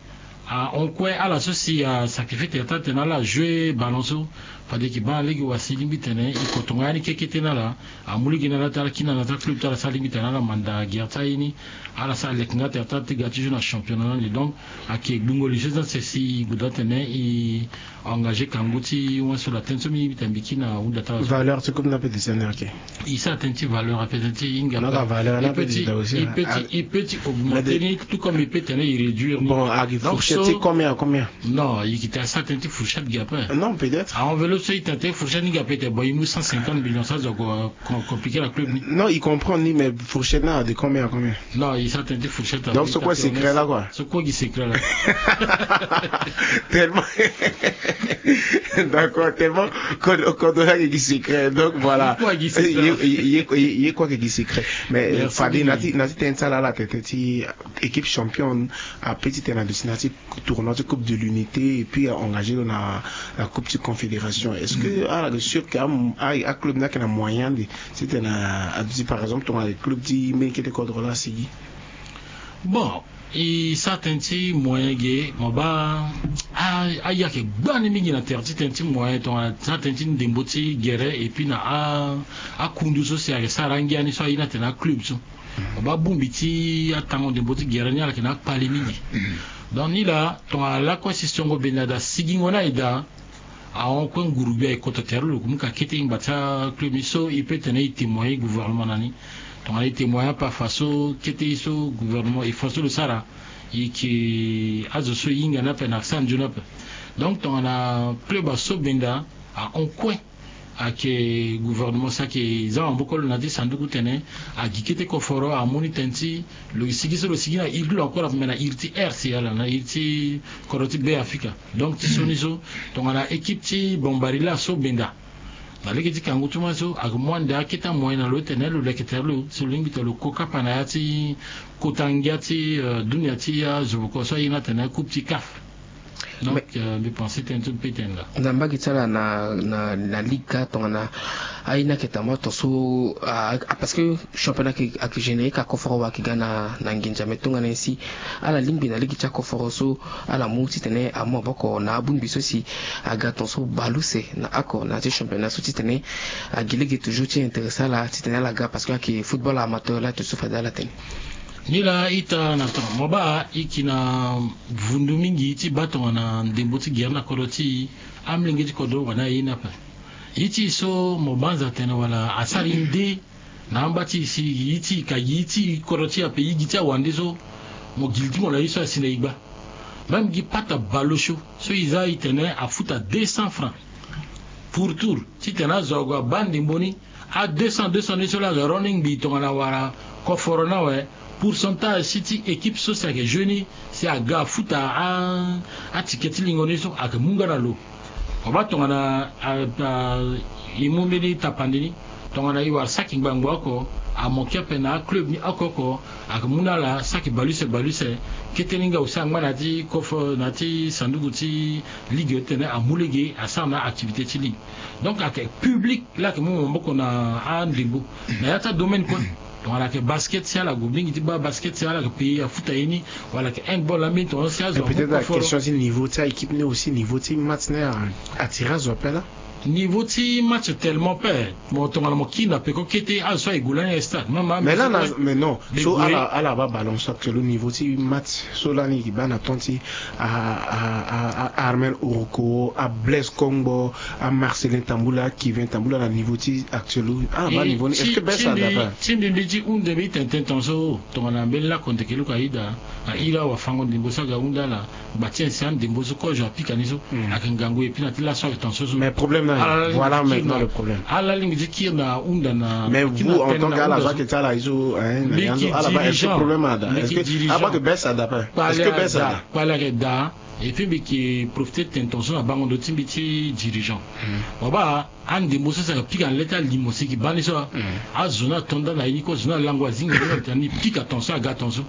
ahon kue ala so si asacrifier tere ti atene ala ajoue ballon so, fade e yeke baa na lege wa si e lingbi tene e koto nga ya ni kekete na ala. Amu lege na ala ti ala kiri na ala ti aclub ti ala so alingbi tene ala manda gere ti aye ni. Ala so aleke nga tere ti ala ti ga ti joue na championnat ni ande. Donc ayeke gbungo li so ti ase si e goda tene e engager kangu ti win so la tënë so mbi, mbi tene mbi kiri na hunda ti ala so. Valeur ti coupe ni ape descendre, ok. E sara tënë ti valeur ape, tënë ti hinga ape. Valeur ni ape descendre aussi, hein. E peut ti augmenter ni, tout comme e peut tene e réduire ni. Bon, ayeke fourchette ti combien à combien? Non, e yeke tene asara tënë ti fourchette ge ape. Non, peut-être. A-enveloppe so e tene tënë ti fourchette ni ge ape, e tene bon e mu cent cinquante millions so azo ako compliquer na club ni. Non, e comprendre ni, mais fourchette ni de combien à combien? Non, e sara tënë ti fourchette. Donc so kue secret la quoi. So kue gi secret la. Tellement. D'accord, tellement kodro, kodro la gi secret. Donc voilà. Ye kue gi secret. Ye, ye, ye, ye kue gi secret. Mais fade na ti, na ti tënë ti ala la tene ti équipe championne apeut ti tene na destination ti tournoi ti coupe de l'unité et puis a engager lo na la coupe ti confédération. Est-ce que ala yeke sûr que a, a club ni ayeke na moyen ande ti tene aduti par exemple tongana club ti mbeni kete kodro la asigi? Bon, e sara tënë ti moyen ge, mo baa a, aye ayeke gbani mingi na tere ti tënë ti moyen tongana sara tënë ti ndembo ti gere et puis na a, akundu so si ayeke sara angia ni so aye ni atene aclub so. Mo baa bongbi ti atango ndembo ti gere ni ala yeke na akpale mingi. Donc ni la tongana lakue si songo benda daa sigingo ni aye daa, ahon kue nguru gbia e koto tere lo, lo yeke mu ka kete ngba ti aclub ni so e peut tene e témoigner gouvernement na ni. Tongana e témoigner ape afa so kete ye so gouvernement e fa so lo sara, e yeke azo so e hinga ni ape na sara nzoni ape. Donc tongana club aso benda, ahon kue ayeke gouvernement so ayeke za maboko lo na ya ti sanduku tene agi kete koforo amu ni tënë ti lo sigi so lo sigi na iri ti lo encore ape me na iri ti R C A la, na iri ti kodro ti Be Afrika. Donc ti so ni so tongana équipe ti Bambari la so benda na lege ti kangu ti moi so ayeke mu ande akete amoyen na lo ti tene lo leke tere lo si lo lingbi tene lo ko kapa na ya ti kota ngia ti, euh, dunia ti azo boko so aye ni atene coupe ti CAF. Donc, euh, mbi pense tënë ti mbi peut tene laa. Na mbage ti ala na, na, na ligue ka tongana aye ni ayeke tambula tongaso, ah, ah, parce que championnat ayeke, ayeke générer ka koforo wa ayeke ga na, na nginza, mais tongana nyen si ala lingbi na lege ti akoforo so ala mu titene amu maboko na abongbi so si aga tongaso bale use na oko na ya ti championnat so titene agi lege toujours ti intéressé ala titene ala ga, parce que ayeke football amateur la tongaso fade ala tene. Ni laa ita na temps mo baa e yeke na vundu mingi ti baa tongana ndembo ti gere na kodro ti e, amolenge ti kodro wala aye ni ape. Ye ti e so mo banza atene wala asara e nde Na amba ti e si e, e ti e ka, e ti e kodro ti e ape, e gi ti awande so, mo gi li ti mo na e so asi na e gba. Même gi pata ballot chaud so e za e tene afuta deux cents francs pour tour. Titene azo ague abaa ndembo ni, a deux cents, deux cents ni so laa ayeke running bi tongana wala koforo ni awe. Pourcentage si ti équipe so si ayeke jeu ni, si aga afuta a, aticket ti lingo ni so, ayeke mu nga na lo. Mo baa tongana a, a, e mu mbeni tapande ni, tongana e wara saki ngbangbo oko, amoke ape na aclub ni oko oko, ayeke mu na ala saki bale use bale use. Kete ni nga aussi angba na ya ti koforo, na ya ti sanduku ti ligue titene amu lege asara na activité ti ligue. Donc ayeke public laa ayeke mu maboko na andembo na ya ti adomaine kue. Tongana ayeke basket, si ala gue mingi ti baa basket, si ala yeke payer afuta ye ni, wala ayeke handball ambeni tongana si azo amu koforo. Et peut-être la question ti niveau ti a-équipe ni aussi, niveau ti match ni a, attiré azo ape laa. Niveau ti match tellement pe, mo tongana mo kiri na peko kete, azo so aye gue lani na stade. Mais là, mais non. So ala, ala baa ballon so actuel, niveau ti match so lani e baa na temps ti a, a, a, a Armel Oroko, a Blaise Kongbo, a Marcelin Tambula, a Kevin Tambula, na niveau ti actuel, ala baa niveau ni. Est-ce que baisse ada ape? Ti mbi, mbi ti hunde mbi tene tene tongaso tongana mbeni lakonde keluku aida, a iri awafango ndembo so aga hunda ala. Gba ti ancien ndembo so kozo apika ni so. Ayeke ngangu epui na ti laso ayeke tongaso so. Mais problème na, voilà maintenant le problème. Ala lingbi ti kiri na hunda na. Mais vous, en tant que ala zo ayeke ti ala ye so, hein, na ya so ala baa, est-ce que problème ada? Est-ce que ala baa ke baisse ada ape? Est-ce que baisse ada? Kpale ayeke daa. Epui mbi yeke profiter tene tongaso na bango ndo ti mbi ti dirigeant. Mo baa andembo so si ayeke pika na le ti alimo si e yeke baa ni so. Azo ni ato nda na ye ni kue, azo ni alango azingo ni, ni pika tongaso aga tongaso.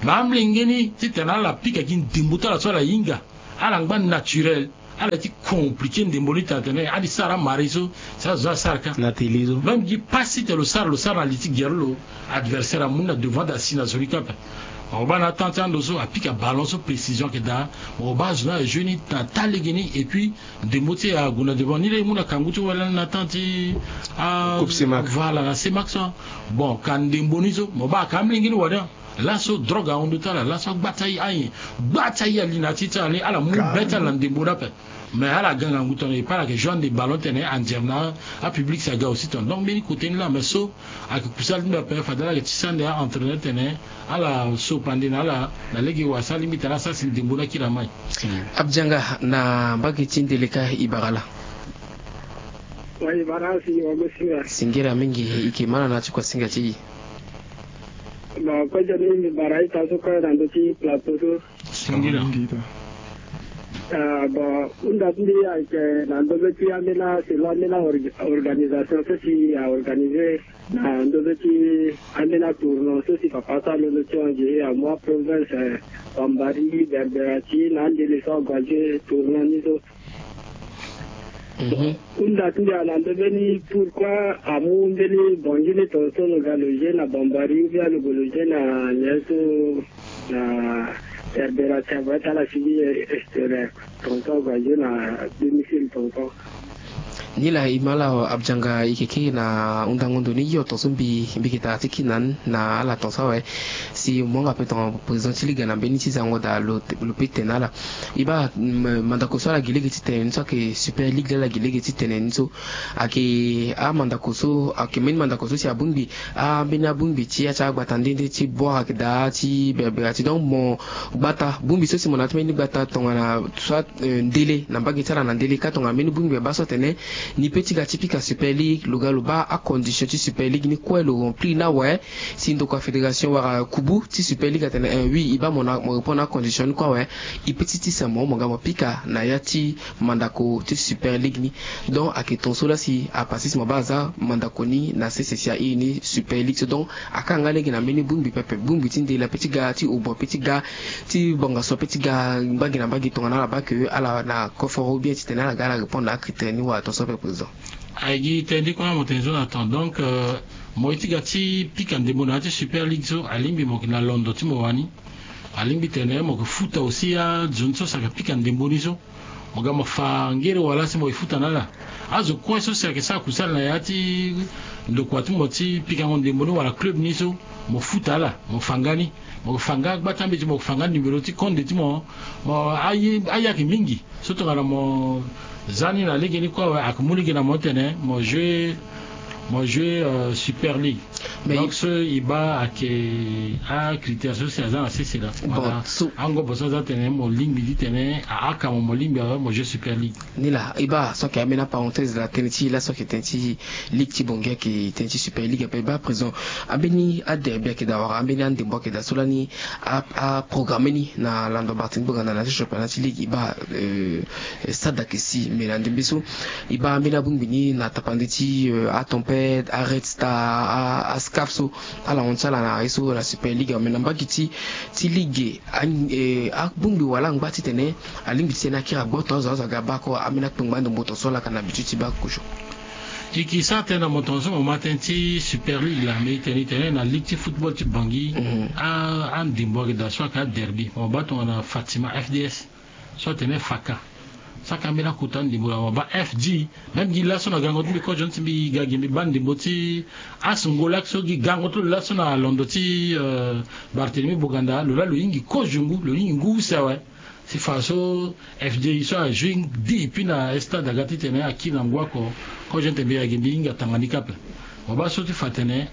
Mais amolenge ni titene ala pika gi ndembo ti ala so ala hinga, ala ngba naturel. Ala ye ti compliquer ndembo ni tene tene adi sara amari so si azo ni asara ka na télé so. Même gi passe titene lo sara, lo sara na li ti gere lo, adversaire amu ni na devant, asi na zo ni kâ ape. Mo baa na temps ti ando so apika ballon so, précision ayeke daa. Mo baa azo ni ajeu ni na taa lege ni. Epui ndembo ti e ague na devant ni laa e mu na kangu ti wala ni na temps ti a Coupe Cemac. Voilà, na Cemac so. Bon, ka ndembo ni so mo baa ka amolenge ni wade. Laso drogue ahon ndo ti ala, laso agba ti aye, agba ti aye ali na ya ti ti ala ni, ala mu be ti ala na ndembo ni ape. Mais ala ga ngangu tongana e pa ala yeke joue ande ballon titene andiam na apublic si aga aussi tongana. Donc mbeni kote ni laa, mais so ayeke kusala ti mbi ape, fade ala yeke tisa ande a-entraîneur titene ala so pande na ala na lege wala so alingbi titene asara si ndembo ni akiri na mai. Abdianga na mbage ti Ndeleka, e bara laa? Wa, e bara si wa go singa. Singila mingi, e yeke ma na na ti kuasinga ti e. Bon, kozo ni mbi bara ita so kue na ndö ti plateau so. Singila. Ah, bon, hunda ti mbi ayeke na ndö ti ambeni, selon ambeni orga-, organisation so si a organisé na ndö ti ambeni atournoi so si papa so alondo ti hon gi amu aprovince, eh, Bambari, Berbera ti na andele so ague ajoue tournoi ni so. Mhm. Hunda ti mbi ayeke na ndö mbeni pourquoi amu mbeni Bangui ni tongaso lo ga loger na Bambari ou bien lo gue loger na nyen so na Berbera ti ague ti ala sigi extérieur tongaso ague ajoue na domicile tongaso. Ni laa e ma laa Abdianga, e yeke kiri na hundango ndo ni yo tongaso mbi, mbi yeke tara ti kiri na ni na ala tongaso awe. Si mo hanga ape tongana président ti ligue na mbeni ti zango daa lo, lo peut tene na ala. E baa, mm, mandako so ala gi lege ti tene ni so ayeke Super Ligue laa ala gi lege ti tene ni so. Ayeke amandako so, ayeke mbeni mandako so si abongbi, ambeni abongbi ti ya ti agbata nde nde ti Bouar ayeke daa ti Berbera ti. Donc mo gbata bongbi so si mo na ya ti mbeni gbata tongana soit, euh, ndele na mbage ti ala na ndele ka tongana mbeni bongbi abaa so atene ni peut ti ga ti pika Super Ligue, lo ga lo baa acondition ti Super Ligue ni kue lo remplir ni awe. Si ndokua fédération wala kubu ti Super Ligue atene, eh, oui, e baa mo na, mo répondre na acondition ni kue awe, e peut ti tisa mo, mo ga mo pika na ya ti mandako ti Super Ligue ni. Donc ayeke tongaso laa si apasé si mo baa aza mandako ni na sese si a iri ni Super Ligue so. Donc akanga lege na mbeni bongbi pepe, bongbi ti ndele ape ti ga, ti obo ape ti ga, ti bongaso ape ti ga, mbage na mbage tongana ala baa ke ala na koforo ou bien titene ala ga ala répondre na acritère ni wala tongaso ape président. Aye gi tënë ti kue na mo tene so na temps. Donc, euh, mo ye ti ga ti pika ndembo na ya ti Super Ligue so, alingbi mo yeke na londo ti mo wani. Alingbi tene mo yeke futa aussi azo ni so si ayeke pika ndembo ni so. Mo ga mo fa ngere wala si mo ye futa na ala. Azo kue so si ayeke sara kusala na ya ti ndokua ti mo ti pikango ndembo ni wala club ni so, mo futa ala, mo fa nga ni. Mo yeke fa nga gba ti ambeti, mo yeke fa nga numéro ti konde ti mo. Mo aye, aye ayeke mingi. So tongana mo za ni na lege ni kue awe, ayeke mu lege na mo tene mo jouer Mo joue euh, Super League. Mais donc so e baa ayeke acritère so si aza na sese laa. Bon, so angobo so aza tene mo lingbi ti tene aaka mo mo lingbi awe mo joue Super League. Ni laa e baa so ayeke ambeni aparenthèse na tënë ti laso ayeke tënë ti ligue ti Bangui ayeke tënë ti Super League ape. E baa présent ambeni aderby ayeke daa wala ambeni andembo ayeke daa so lani aprogramme ni na lando Martinique Boganda na ti championnat ti ligue. E baa stade ayeke si mais na ndembe so e baa ambeni abongbi ni na tapande ti atempête, aRed Star, ascaf so ala hon ti ala na ye so na Super League. Mais na mbage ti ti ligue abongbi wala angba titene alingbi titene akiri agboto azo azo aga baa kue ambeni akpengba ande mboto so ala yaka na habitude ti baa kozo. E ke sara tënë na mo tonga so mo ma tënë ti Super League laa mais e tene e tene na ligue ti football ti Bangui. Andembo ayeke daa so ayeke aderby mo baa tongana Fatima, F D S, so atene Faka. So ayeke ambeni akota ndembo laa mo baa F G. Même gi laso na gango ti mbi kozo ni ti mbi ga gi mbi baa ndembo ti As Ngolak so gi gango ti lo laso na londo ti Barthélemy Boganda lo laa lo hingi kozo ngu lo hingi ngu use awe. Si fa so F J so ajoue depuis na stade aga titene akiri na ngu oko. Kozo ni tene mbi ayeke mbi hinga tanga ni kâ ape. Mo baa so ti fa tene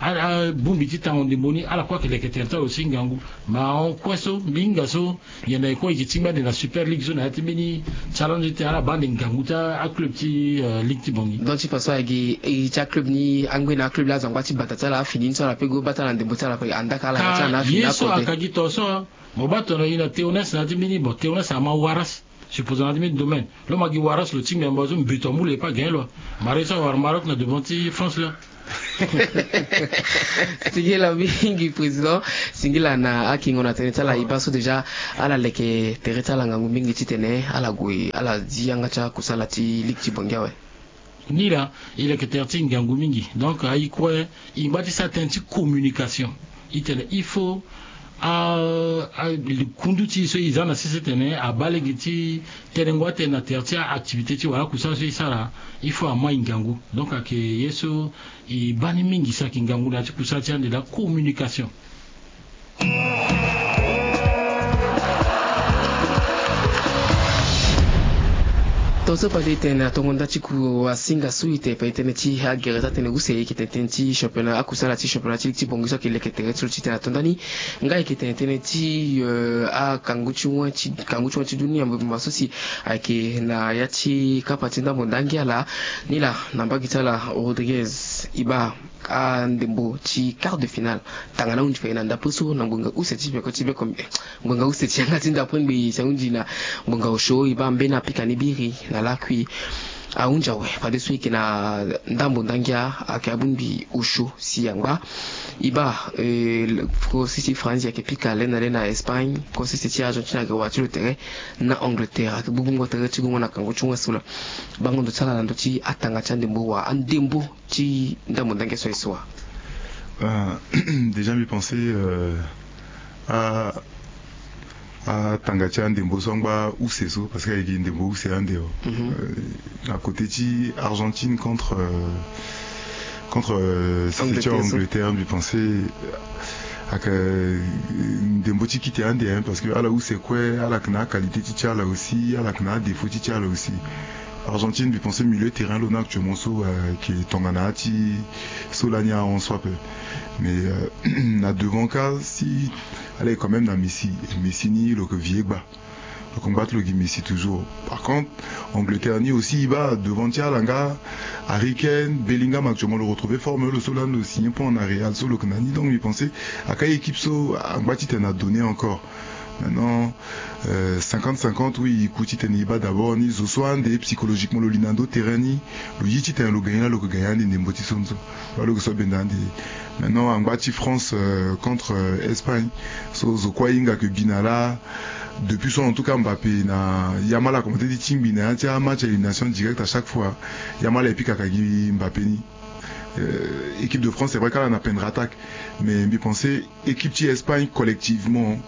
abongbi ti tango ndembo ni ala kue ayeke leke tere ti ala aussi ngangu. Ma ahon kue so mbi hinga so nyen na e kue e yeke tingbi ande na Super League so na ya ti mbeni challenge ti tene ala baa ande ngangu ti aclub ti ligue ti Bangui. Donc ti fa so ayeke e ti aclub ni angbe na aclub laa azo angba ti bata ti ala afini ni so ala pe go baa ti ala na ndembo ti ala kue andaka ala ya ti ala na afini ye so akode. Aka gi to so. Mo baa tongana e na Teones na ya ti mbeni bon Teones ama Waras. Supposé na ya ti mbeni domaine lo ma gi Waras lo tingbi na mba so mbeto amu lo e pas gagné lo. Mara ye so awara Maroc na devant ti France laa. Singila mingi président. Singila na akingo na tënë ti ala e baa so déjà ala leke tere ti ala ngangu mingi titene ala gue ala zi yanga ti akusala ti ligue ti Bangui awe. Ni laa e leke tere ti ngangu mingi. Donc aye kue e ngba ti sara tënë ti communication. E tene il faut a, a, kundu ti e so e za na sese tene abaa lege ti tene ngu atene na tere ti a-activité ti wala akusala so e sara. Il faut ama e ngangu. Donc ayeke ye so e baa ni mingi si ayeke ngangu na ya ti kusala ti ande laa communication. Tongaso fade e tene na tongo nda ti ku asinga so e tene fa e tene ti agere ti atene use e yeke tene tënë ti championnat akusala ti championnat ti ligue ti Bangui so ayeke leke tere ti lo ti tene na tonda ni. Nga e yeke tene tënë ti akangu ti wen ti kangu ti wen ti dunia mbi bemba so si ayeke na ya ti kapa ti ndambo ndangi ala. Ni laa na mbage ti ala Rodriguez e baa andembo ti quart de finale. Tanga na ahunzi fade na ndapre so na ngonga use ti bieko ti bieko ngonga use ti yanga ti ndapre ngbii si ahunzi na ngonga osio e baa ambeni apika ni biri na lakui. Ahunzi awe fadeso e yeke na ndambo ndangia ayeke abongbi osio si angba. E baa ko sese ti France ayeke pika le na le na Espagne ko sese ti Argentine ayeke wara ti lo tere na Angleterre ayeke gbu gbungo tere ti gungo na kango ti wen so laa. Bango ndo ti ala na ndö ti atanga ti andembo wa andembo ti ndambo ndange so e so wa. Euh, déjà mbi pense euh, a atanga ti andembo so angba use so parce que ayeke ndembo use ande o. Mhm. Euh, na côté ti Argentine contre euh, contre euh, si Angleterre, ti Angleterre mbi pense euh, ayeke euh, ndembo ti kite ande hein, parce que ala use kue ala yeke na aqualité ti ti ala aussi ala yeke na adéfaut ti ti ala aussi. Argentine mbi pense milieu terrain lo na actuellement so euh, ayeke tongana ya ti so lani ahon so ape. Mais euh, na devant ka si ala ye quand même na Messi. Messi ni lo yeke vie gba lo yeke ngba ti lo gi Messi toujours. Par contre Angleterre ni aussi e baa devant ti ala nga Harry Kane, Bellingham actuellement lo retrouver forme lo so lani lo signer point na Real so lo yeke na ni. Donc mbi pense aka équipe so angba ti tene na donner encore. Maintenant euh, cinquante cinquante oui e ku titene e baa d'abord ni zo so ande psychologiquement lo li na ndo terrain ni. Lo ye titene lo gagner la lo ke gagner ande ndembo ti so ni so. Wala lo ke so benda ande. Maintenant angba ti France euh, contre euh, Espagne so zo kue ahinga ke bi na la. Depuis so en tout cas Mbappé na Yamal a commencé ti tingbi na ya ti amatch à élimination directe à chaque fois. Yamal e pika ka gi Mbappé ni. Euh, équipe de France c'est vrai kala na pendre attaque. Mais mbi pense équipe ti Espagne collectivement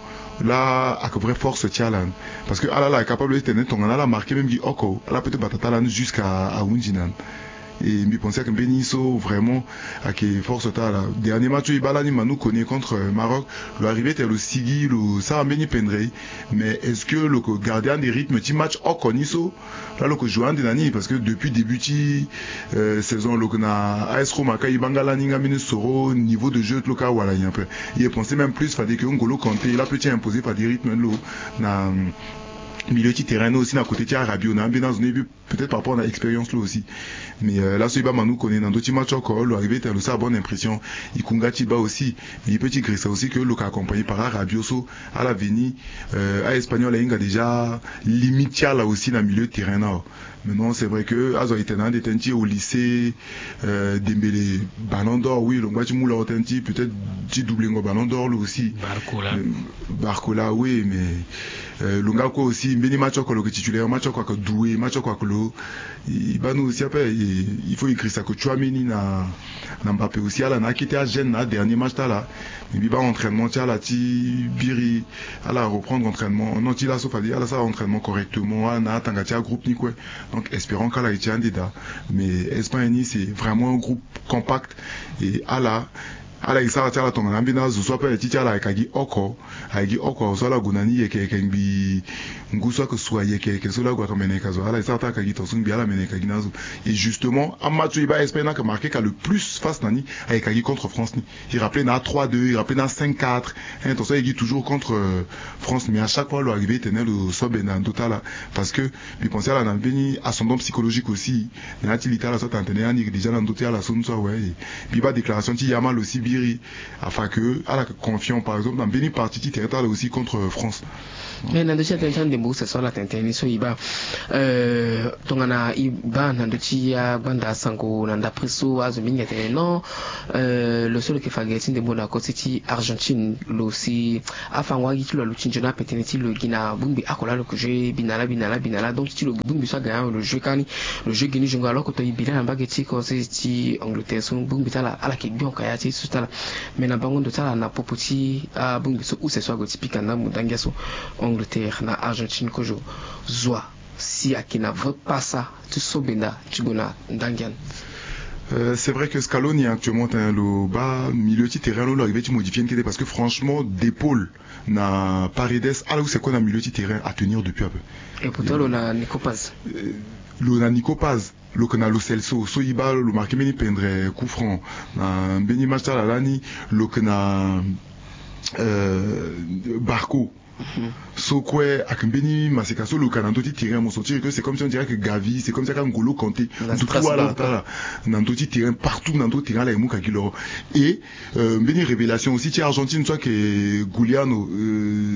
la ake vrai force ti ala. Parce que ala la capable ti tene tongana ala marquer même gi oko ala peut ti bata ti ala ni jusqu'à ahunzi na ni. Et mbi pense ake mbeni so vraiment ake force ta la. Dernier match oyo e baa lani Manu Kone contre Maroc, lo arrive tene lo sigi, lo sara mbeni pendre. Mais est-ce que lo ke garder ande rythme ti match oko ni so? Là lo ke jouer ande na ni, parce que depuis début ti saison lo ke na A S Roma ka e baa nga lani nga mbeni soro, niveau de jeu ti lo ka wara nyen ape. E pense même plus fade ke N'Golo Kanté la pe ti imposer fade rythme ti lo na milieu ti terrain ni aussi na côté ti Rabiot na ambeni azo ni. Peut-être par rapport na expérience lo aussi. Mais laso e baa Manu Kone na ndö ti match oko lo arrive tene lo sara bonne impression. E ku nga ti e baa aussi. Mais e pe ti girisa aussi ke lo ke accompagné par Rabiot so ala veni, a Espagnol ahinga déjà limite ti ala aussi na milieu de terrain na. Maintenant c'est vrai que azo aye tene na ande tënë ti Olise Dembélé, Ballon d'Or, oui, lo ngba ti mu lo tënë ti peut-être ti doublengo Ballon d'Or lo aussi. Barcola, oui, mais lo nga kue aussi mbeni match oko lo ke titulaire, match oko ake Doué, match oko ake lo. E baa ni aussi ape, il faut e girisa ake Tchouaméni na Mbappé aussi ala na akete agene na dernier match ti ala. Mais mbi baa entraînement ti ala ti biri, ala reprendre entraînement. Non, ti laso fade ala sara entraînement correctement, ala na atanga ti agroupe ni kue. Donc espérons que ala ye ti ande daa. Mais Espagne ni c'est vraiment un groupe compact. Et ala ala ye sara ti ala tongana ambeni azo so ape ti ti ala ayeke gi oko. Ayeke gi oko so ala gue na ni yeke yeke ngbi. Ngu so ake sua yeke yeke so la gue ake mene yeke azo, ala ye sara ti ake gi tongaso ngbi ala mene yeke gi na azo. Et justement amatch so e baa Espagne ni ake marqué ka le plus face na ni ayeke gi contre France ni. E rappelé na trois deux, e rappelé na cinq quatre. Hein, tongaso e gi toujours contre France, mais à chaque fois lo arrive tene lo so be na ndö ti ala. Parce que mbi pense ala na mbeni ascendant psychologique aussi. Na ya ti li ti ala so atene tene ani déjà na ndö ti ala so ni so awe. Mbi baa déclaration ti Yamal aussi biri, afa ke ala ke confiant par exemple na mbeni partie ti terrain ti ala aussi contre France. Mais na ndö ti atene ti andembo use so ala tene tënë ni so e baa tongana e baa na ndö ti agbanda sango na ndapre so azo mingi atene non. Lo so lo yeke fa gere ti ndembo na koti ti Argentine lo si afango agi ti lo aluti nzoni ape tënë ti lo gi na bongbi oko laa lo ke joue bi na laa bi na laa bi na laa. Donc ti lo bongbi so aga ni lo joue kani, lo joue gi ni jongo alors que to e bi laa na mbage ti kose ti Angleterre so bongbi ti ala ala yeke gbi oko ya ti so ti ala. Mais na bango ndo ti ala na popo ti abongbi so use so ague ti pika ndambo ndangia so Angleterre na Argentine kozo zwa si ayeke na vrai pasa ti so benda ti gue na ndangia ni. C'est vrai que Scaloni actuellement tene lo baa milieu ti terrain lo lo arrive ti modifier ni kete parce que franchement De Paul na Paredes ala use kue na milieu ti terrain à tenir depuis ape. Et pourtant lo na Nico Paz. Lo na Nico Paz, lo ke na Lo Celso so e baa lo marqué mbeni pendre coup franc na mbeni match ti ala lani. Lo ke na Barco. So kue ayeke mbeni maseka so lo ka na ndö ti terrain mo sentir que c'est comme si on dirait que Gavi, c'est comme si aka N'Golo Kanté. Ndutu ala ata ala na ndö ti terrain, partout na ndö ti terrain ala ye mu ka gi loro. Et mbeni révélation aussi ti Argentine so ayeke Giuliano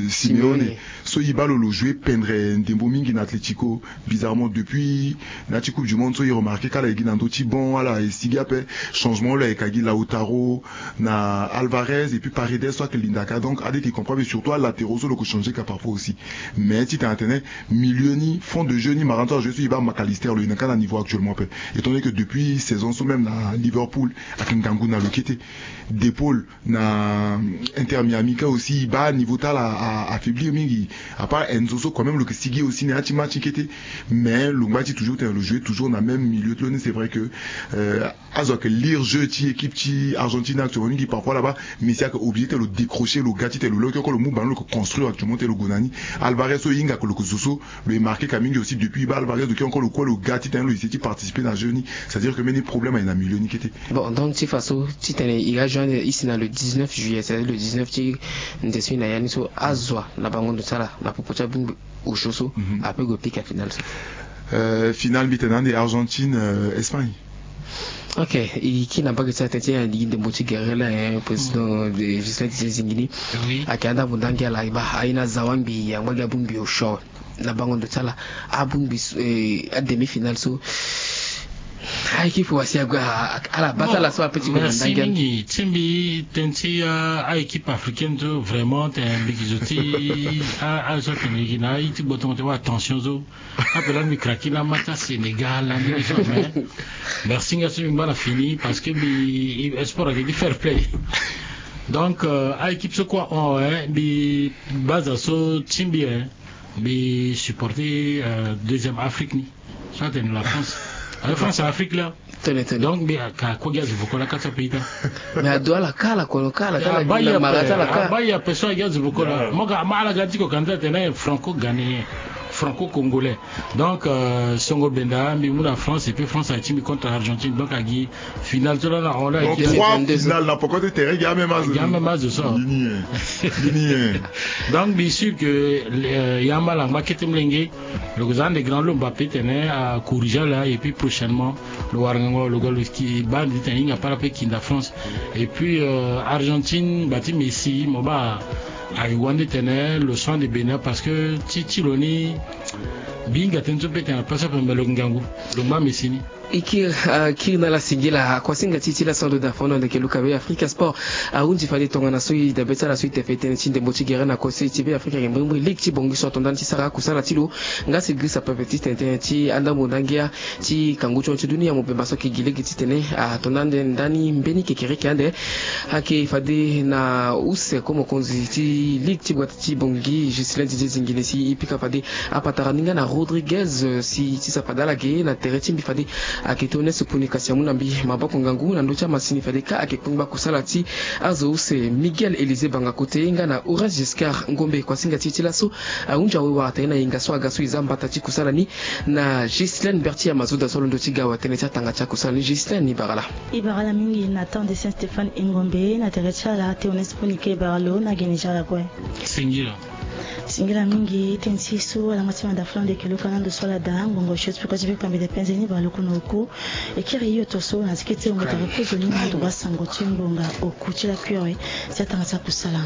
Simeone. So e baa lo lo joue pendre ndembo mingi na Atlético. Bizarrement depuis na ya ti coupe du monde so e remarqué ka ala ye gi na ndö ti banc ala ye sigi ape. Changement lo ayeke ka gi Lautaro na Alvarez et puis Paredes so ayeke linda ka. Donc ade ti comprend mais surtout alatéraux so lo ko changé ka parfois aussi. Mais ti tene atene milieu ni fond de jeu ni maranta ajoue so e baa Mac Allister lo yina ka na niveau actuellement ape. Étant donné que depuis saison so même na Liverpool ayeke ngangu na lo kete. De Paul na Inter Miami ka aussi e baa niveau ti ala a affaiblir mingi. À part Enzo so quand même lo ke sigi aussi na ya ti match ni kete. Mais lo ngba ti toujours tene lo joue toujours na même milieu ti lo ni. C'est vrai que azo ayeke lire jeu ti équipe ti Argentine actuellement mingi parfois là-bas. Messi ayeke obligé tene lo décrocher lo ga ti tene lo leke oko lo mu ballon lo ke construire actuellement tene lo gue na ni. Alvarez so e hinga ke lo ke zo so lo ye marqué ka mingi aussi depuis e baa Alvarez lo ke encore lo kue lo ga ti tene lo essayer ti participer na jeu ni. C'est-à-dire que mbeni problème aye na milieu ni kete. Bon, donc ti faso ti tene e ga joindre e si na le dix-neuf juillet, c'est-à-dire le dix-neuf ti nze so e na ya ni so azo na bango ndo ti ala na popo ti abongbi osio so ape gue pika final so. Final mbi tene ande Argentine Espagne. Ok, e kiri na mbage ti ala tënë ti e na ligi ndembo ti gere laa, président Justin ti zingi ni. Ayeke na ndambo ndangi ala e baa aye na zawangbi angba gi abongbi osio awe. Na bango ndo ti ala abongbi so, ademi final so aéquipe wasi ague ala baa ti ala so ape ti gue na ndangi ala. Mingi ti mbi tënë ti aéquipe africaine so vraiment tene mbi gi zo ti azo so atene gi na aye ti gbotongo ti wa attention so. Ape lani mbi craqué na match ti Sénégal lani so mais merci nga so mbi ngba na fini parce que mbi sport ayeke ti fair play. Donc aéquipe so kue ahon awe mbi base so ti mbi mbi supporté deuxième Afrique ni so atene la France. La France na Afrique laa. Tene, tene. Donc mbi aka kue gi azo vokola kati ape ita. Mais ado ala kala kono kala tala abaya mara tala kala. Abaya pe so agi azo vokola moka ama ala ga ti ko kanda tene franco ghanéen, franco congolais. Donc euh, songo benda mbi mu na France et puis France ati mbi contre Argentine, donc agi final so la na on la. Donc trois final na poko ti terrain gi ameme azo. Gi ameme azo so. Bini ye. Bini ye. Donc mbi sûr que euh, ya ma langba kete mlenge. Lo ko za ande grand lo Mbappé tene a corrige ala et puis prochainement lo wara ngango lo ga lo ki baa nde ti tene hinga para pe kinda France. Et puis euh, Argentine ngba ti Messi mo baa. Ayeke wande tene lo so ande Bénin parce que ti ti lo ni. Mbi hinga tënë so pe tene na place ape me lo yeke ngangu. Lo ngba Messi ni. E kiri, ah, kiri na ala singila. Akuasinga ti e ti laso ando da fondo ande yeke luka be Africa Sport. Ahunzi fade tongana so e dabe ti ala so e tefe tënë ti ndembo ti gere na kose ti be Africa yeke mbrimbri ligue ti bongi so ato ndani ti sara akusala ti lo. Nga si grisa pepe ti tene tënë ti andambo ndangia ti kangu ti hon ti dunia mobemba so ayeke gi lege titene ato na ande ndani mbeni kekereke ande. Ayeke fade na use ko mokonzi ti ligue ti gbata ti bongi Ghislain Didier Zingine si e pika fade apatara ni nga na Rodriguez si ti sapa dala ge na tere ti mbi fade ayeke ti honnête puni kasi amu na mbi maboko ngangu na ndö ti amasini fade ka ayeke kpengba kusala ti azo use Miguel Élisée Banga Kote nga na Horace Giscard Ngombe. Kuasinga ti e ti laso ahunzi awe wara tene na hinga so aga so e za mbata ti kusala ni na Ghislaine Bertier Mazoda so alondo ti ga awe tënë ti atanga ti akusala ni. Ghislaine, e bara laa. E bara laa mingi na temps de Saint Stéphane Engombe na tere ti ala te honnête puni ke e bara lo na gene ti ala kue. Singila. Singila mingi tënë ti e so ala ma ti manda flan de kelo ka na ndo so ala daa ngongo siot peko ti bikpambe de penze ni baa lo kono oku. E kiri hio to so na ti kete wongo tara kozoni na ndo baa sango ti ngonga oku ti la kure ti atanga ti akusala.